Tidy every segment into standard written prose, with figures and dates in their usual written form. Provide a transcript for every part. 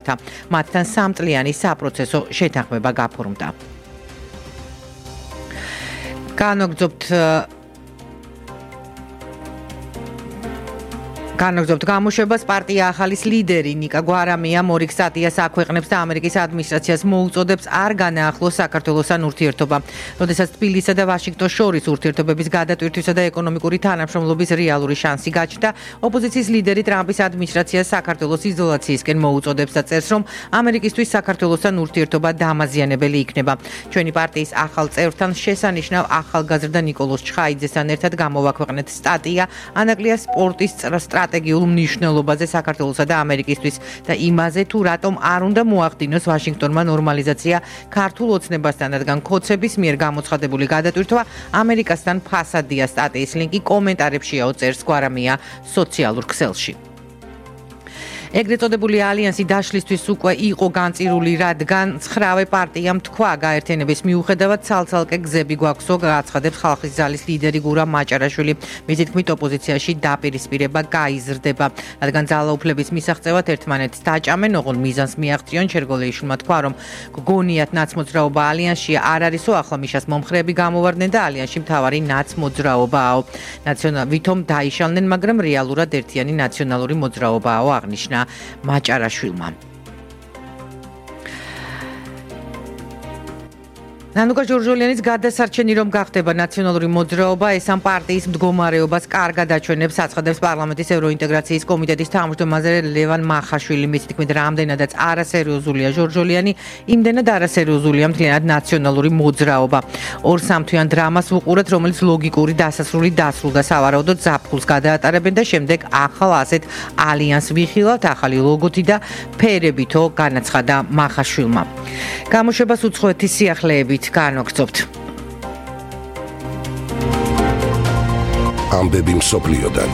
გამართა. მათთან 3 წლიანი საპროცესო შეთანხმება გაფორმდა. განაგრძობთ გამოშვებას პარტია ახალის ლიდერი ნიკა გვარამია მორიგ სტატიას აქვეყნებს და ამერიკის ადმინისტრაციას მოუწოდებს არ განაახლოს საქართველოსთან ურთიერთობა. როდესაც თბილისსა და ვაშინგტონს შორის ურთიერთობების გადატვირთვისა და ეკონომიკური თანამშრომლობის რეალური შანსი გაჩნდა, ოპოზიციის ლიდერი ტრამპის ადმინისტრაციას საქართველოს იზოლაციისკენ მოუწოდებს და წერს, რომ ამერიკისთვის საქართველოსთან ურთიერთობა დამაზიანებელი იქნება. ჩვენი პარტიის ახალ წევრთან შესანიშნავ ახალგაზრდა ნიკოლოზ ჩხაიძესთან ერთად გამოვაქვეყნეთ სტატია ანაკლია სპორტის სტრატეგიულ მნიშვნელობაზე საქართველოსა და ამერიკისთვის და იმაზე თუ რატომ არ უნდა მოახდინოს ვაშინგტონმა ნორმალიზაცია ქართულ ოცნებასთან, რადგან ქოცების მიერ გამოცხადებული გადატვირთვა ამერიკასთან ფასადია. სტატიის ლინკი კომენტარებშიაო, წერს გვარამია სოციალურ ქსელში. ეგრეთ წოდებული ალიანსი დაშლისთვის უკვე იყო განწირული, რადგან 9 პარტიამ თქვა გაერთიანების მიუხედავად ცალ-ცალკე გზები გვაქვსო, გააცხადებს ხალხის ძალის ლიდერი გურამ მაჭარაშვილი. მისი თქმით, ოპოზიციაში დაპირისპირება გაიზრდება, რადგან ძალაუფლების მისაღწევად ერთმანეთს დაჭამენ, ოღონდ მიზანს მიაღწიონ. შერგოლეიშვილმა თქვა, რომ გონიათ ნაცმოძრაობა ალიანსში არ არისო, ახლა მიშას მომხრეები გამოვარდნენ და ალიანსში მთავარი ნაცმოძრაობაო. ვითომ დაიშალნენ, მაგრამ რეალურად ერთიანი ნაციონალური მოძრაობაო, აღნიშნა მაჭარაშვილმა. ნანუკა ჯორჯოლიანის გადასარჩენი რომ გახდება ნაციონალური მოძრაობა, ეს ამ პარტიის მდგომარეობას კარგად აჩვენებს, აცხადებს პარლამენტის ევროინტეგრაციის კომიტეტის თავმჯდომარე ლევან მახაშვილი. მისი თქმით, რამდენადაც არასერიოზულია ჯორჯოლიანი, იმდენად არასერიოზულია მთლიანად ნაციონალური მოძრაობა. 2-3 თვიან დრამას ვუყურეთ, რომელიც ლოგიკური დასასრული დასრულდა, სავარაუდოდ ზაფხულს გადაატარებენ და შემდეგ ახალ ასეთ ალიანსს ვიხილავთ, ახალი ლოგოთი და ფერებითო, განაცხადა მახაშვილმა. გამოშვებას უცხოეთის სიახლეებით განვაგრძობთ. ამბები მსოფლიოდან.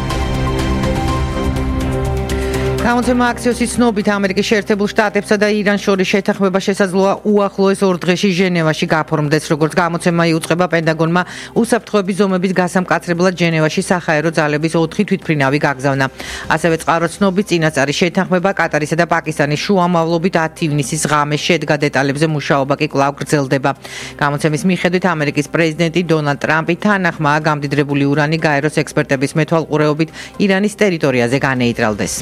გამოცემა აქსიოსის ცნობით ამერიკის შეერთებულ შტატებსა და ირანს შორის შეთანხმება შესაძლოა უახლოეს 2 დღეში ჟენევაში გაფორმდეს, როგორც გამოცემა იუწყება პენტაგონმა უსაფრთხოების ზომების გასამკაცრებლად ჟენევაში საჰაერო ძალების 4 თვითმფრინავი გაგზავნა. ასევე წყარო ცნობით წინასწარი შეთანხმება კატარისა და პაკისტანის შუამავლობით 10 ივნისის ღამეს შედგა, დეტალებზე მუშაობა კი კვლავ გრძელდება. გამოცემის მიხედვით ამერიკის პრეზიდენტი დონალდ ტრამპი თანახმაა გამდიდრებული ურანი გაეროს ექსპერტების მეთვალყურეობით ირანის ტერიტორიაზე განეიტრალდეს.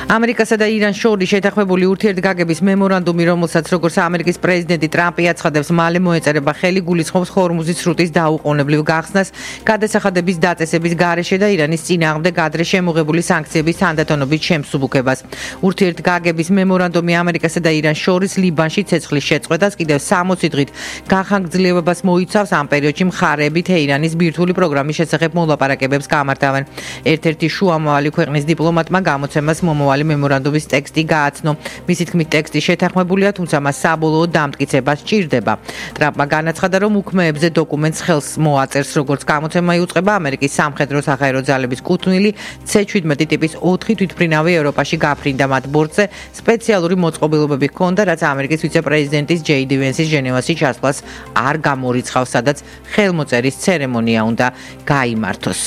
ამერიკასა და ირანს შორის შეთანხმებული ურთიერთგაგების მემორანდუმი, რომელსაც როგორც ამერიკის პრეზიდენტი ტრამპი აცხადებს, მალე მოეწერება ხელი, გულისხმობს ჰორმუზის სრუტის დაუყოვნებლივ გახსნას, გადასახადების დაწესების გარეშე და ირანის წინააღმდეგ ადრე შემოღებული სანქციების თანდათანობით შემსუბუქებას. ურთიერთგაგების მემორანდუმი ამერიკასა და ირანს შორის ლიბანში ცეცხლის შეწყვეტას, კიდევ 60 დღით განხანგრძლივებას მოიცავს. ამ პერიოდში მხარეები თეირანის ბირთვული პროგრამის შესახებ მოლაპარაკებებს გამართავენ. ერთ-ერთი შუამავალი ქვეყნის დიპლომატმა გამოცემას მომავალი მემორანდუმის ტექსტი გააცნო. მისი თქმით, ტექსტი შეთანხმებულია, თუმცა მას საბოლოო დამტკიცება სჭირდება. ტრამპმა განაცხადა, რომ უქმეებზე დოკუმენტს ხელს მოაწერს, როგორც გამოცემა იუწყება ამერიკის სამხედრო საჰაერო ძალების კუთვნილი C-17 ტიპის 4 თვითმფრინავი ევროპაში გაფრინდა. მათ ბორტზე სპეციალური მოწყობილობები ჰქონდა, რაც ამერიკის ვიცე-პრეზიდენტის ჯეი-დი ვენსის ჟენევაში ჩასვლას არ გამორიცხავს, სადაც ხელმოწერის ცერემონია უნდა გაიმართოს.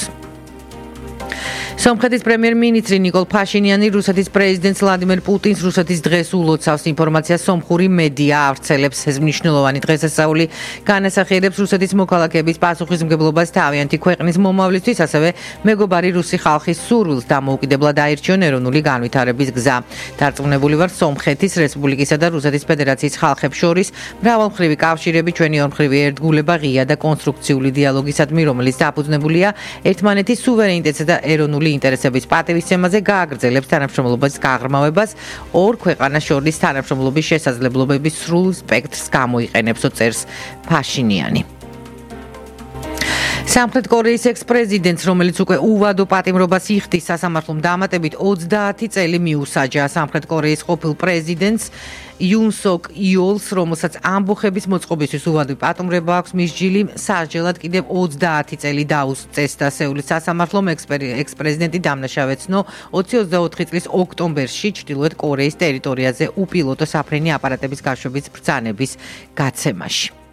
სომხეთის პრემიერ-მინისტრი ნიკოლ ფაშინიანი რუსეთის პრეზიდენტს ვლადიმერ პუტინს რუსეთის დღეს ულოცავს. ინფორმაციას სომხური მედია ავრცელებს. ეს მნიშვნელოვანი დღესასწაული განასახიერებს რუსეთის მოქალაქეების პასუხისმგებლობას თავიანთი ქვეყნის მომავლისთვის, ასევე მეგობარი რუსი ხალხის სურვილს დამოუკიდებლად აირჩიონ ეროვნული განვითარების გზა. დარწმუნებული ვარ, სომხეთის რესპუბლიკისა და რუსეთის ფედერაციის ხალხებს შორის მრავალმხრივი კავშირები, ჩვენი ორმხრივი ერთგულება ღია და კონსტრუქციული დიალოგისადმი, რომელიც დაფუძნებულია ერთმანეთის სუვერენიტეტსა და ეროვნული ინტერესების პატივისცემაზე, გააგრძელებს თანამშრომლობის გაღრმავებას, ორ ქვეყანას შორის თანამშრომლობის შესაძლებლობების სრულ სპექტრს გამოიყენებს, წერს ფაშინიანი. სამხრეთ კორეის ექს-პრეზიდენტს, რომელიც უკვე უვადო პატიმრობას იხდის სასამართლომ დამატებით 30 წელი მიუსაჯა. სამხრეთ კორეის ყოფილ პრეზიდენტს იუნ სოკ იოლს, რომელსაც ამბოხების მოწყობისთვის უვადო პატიმრობა აქვს, მის ჯილი სასჯელად კიდევ 30 წელი დაუსწეს და სეულის სასამართლომ ექს-პრეზიდენტი დამნაშავეცნო 2024 წლის ოქტომბერში ჩრდილოეთ კორეის ტერიტორიაზე უპილოტო საფრენი აპარატების გაშვების ბრძანების გაცემაში.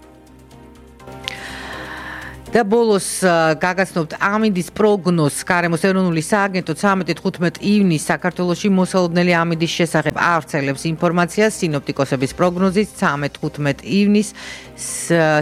და ბოლოს გაგაცნობთ ამინდის პროგნოზს. გარემოს ეროვნული სააგენტო 13-15 ივნისს საქართველოში მოსალოდნელი ამინდის შესახებ ავრცელებს ინფორმაციას. სინოპტიკოსების პროგნოზით 13-15 ივნისს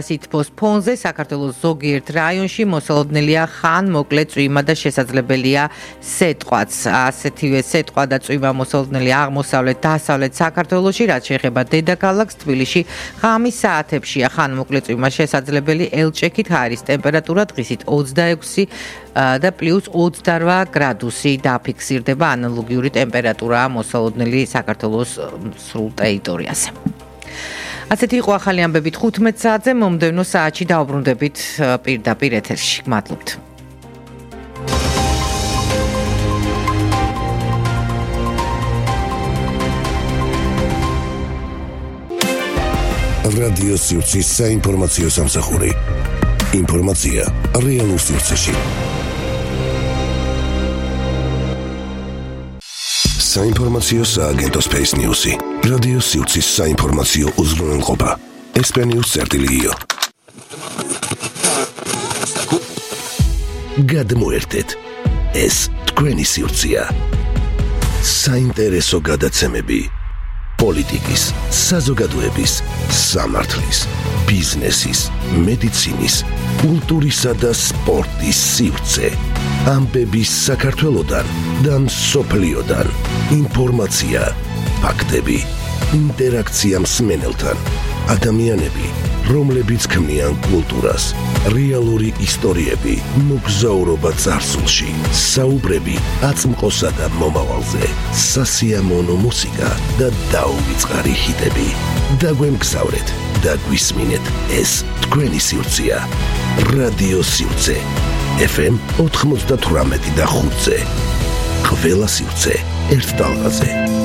სითბოს ფონზე საქართველოს ზოგიერთ რაიონში მოსალოდნელია ხან მოკლე წვიმა და შესაძლებელია სეტყვაც. ასეთივე სეტყვა და წვიმა მოსალოდნელია აღმოსავლეთ დასავლეთ საქართველოში, რაც შეეხება დედაქალაქს თბილისში ღამის საათებშია ხან მოკლე წვიმა შესაძლებელი. ელჭექით ჰაერის ტემპერატურა დღისით 26 და პლუს 28 გრადუსი დაფიქსირდება. ანალოგიური ტემპერატურაა მოსალოდნელი საქართველოს სრულ ტერიტორიაზე. ასეთი იყო ახალი ამბები 15 საათზე. მომდევნო საათში დავბრუნდებით პირდაპირ ეთერში. გმადლობთ. რადიო სივრცის საინფორმაციო სამსახური. ინფორმაცია რეალურ სივრცეში. საინფორმაციო სააგენტო Space News-ი. რადიო სივრცის საინფორმაციო უზრუნველყოფა. SP-News.io. გადმოერთეთ. ეს თქვენი სივრცეა. საინტერესო გადაცემები. პოლიტიკის, საზოგადოების, სამართლის, ბიზნესის, მედიცინის, კულტურისა და სპორტის სივრცე. ამბების საქართველოდან და მსოფლიოდან. ინფორმაცია, ფაქტები, ინტერაქცია მსმენელთან. ადამიანები, რომლებიც ქმნიან კულტურას, რეალური ისტორიები, მოგზაურობა წარსულში, საუბრები აწმყოსა და მომავალზე, სასიამოვნო მუსიკა და დაუვიწყარი ჰიტები. დაგვემგზავრეთ და გვისმინეთ, ეს თქვენი სივრცეა. რადიო სივრცე. FM 98 და 5-ზე. ყველა სივრცე ერთ ტალღაზე.